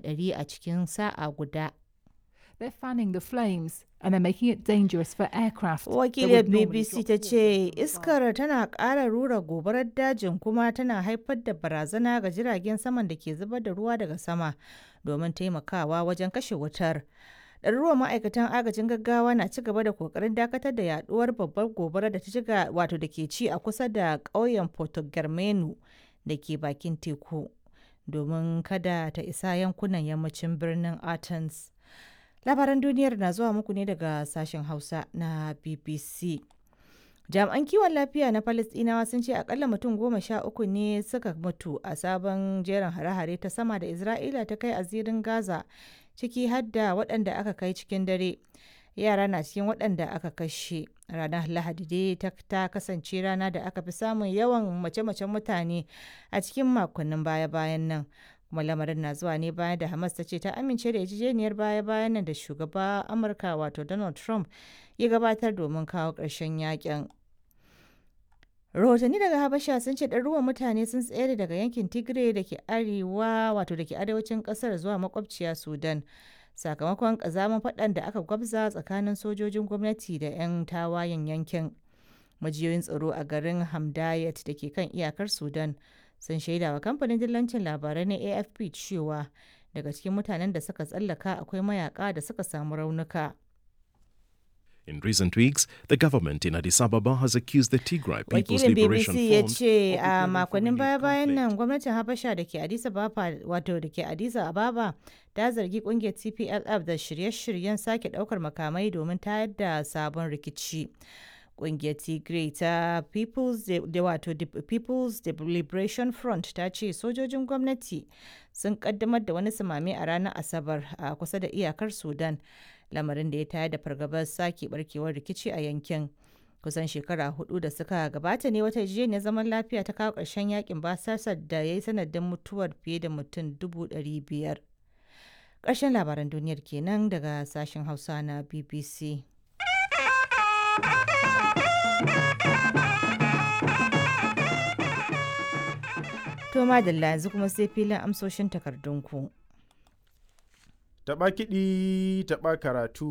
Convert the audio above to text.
100 a cikin sa'a guda. They're fanning the flames and they're making it dangerous for aircraft that Wakiliyar would normally BBC drop ta water ce from above. iskar tana ƙara rura gobarar dajin kuma tana haifar da barazana ga jiragen saman da ke zubar da ruwa daga sama domin taimakawa wajen kashe wutar. Ɗaruruwan ma'aikatan agajin gaggawa na ci gaba da kokarin dakatar da yaduwar babbar gobarar da ta shiga wato da ke ci a kusa da ƙauyen Porto Germano da ke bakin teku domin kada ta isa yankunan yammacin birnin Athens. Labaran duniyar na zuwa muku ne daga sashen Hausa na BBC. Jami'an kiwon lafiya na Falasɗinawa sun ce akalla mutum 13 ne suka mutu a sabon jerin hare-hare ta sama da Isra'ila ta kai a zirin Gaza, ciki har da waɗanda aka kai cikin dare. Yara na cikin waɗanda aka kashe. Ranar Lahadi dai ta kasance rana da aka fi samun yawan mace-macen mutane a cikin makonnin baya-bayan nan. Kuma lamarin na zuwa ne bayan da Hamas ta ce ta amince da yarjejeniyar baya-bayan nan da shugaba Amurka wato Donald Trump ya gabatar domin kawo ƙarshen yakin. Rahotanni daga Habasha sun ce ɗaruruwan mutane sun tsere daga yankin Tigray da ke arewa wato da ke arewacin ƙasar zuwa makwabciya Sudan sakamakon ƙazamin faɗan da aka gwabza tsakanin sojojin gwamnati da 'yan tawayen yankin. Majiyoyin tsaro a garin Hamdayat da ke kan iyakar Sudan sun shaida wa kamfanin dillancin labarai na AFP cewa daga cikin mutanen da suka tsallaka akwai mayaka da suka samu raunuka. In recent weeks, the government in Addis Ababa has accused the Tigray People's Wakilin Liberation BBC ya Front ce of a preparing for makonnin renewed baya-bayan conflict. nan gwamnatin Habasha da ke Addis Ababa wato da ke Addis Ababa ta zargi kungiyar TPLF da shirye-shiryen sake daukar makamai domin tayar da sabon rikici. Kungiyar Tigray ta People's De, wato People's Liberation Front ta ce sojojin gwamnati sun kaddamar da wani sumame a ranar Asabar a kusa da iyakar Sudan, lamarin da ya tayar da fargabar sake barkewar rikici a yankin. Kusan shekara 4 da suka gabata ne wata yarjejeniyar zaman lafiya ta kawo ƙarshen yakin basasar da ya yi sanadin mutuwar fiye da mutum 500,000. Ƙarshen labaran duniyar kenan daga sashen Hausa na BBC. To madalla yanzu kuma sai filin amsoshin takardunku. Taɓa kiɗi, taɓa karatu,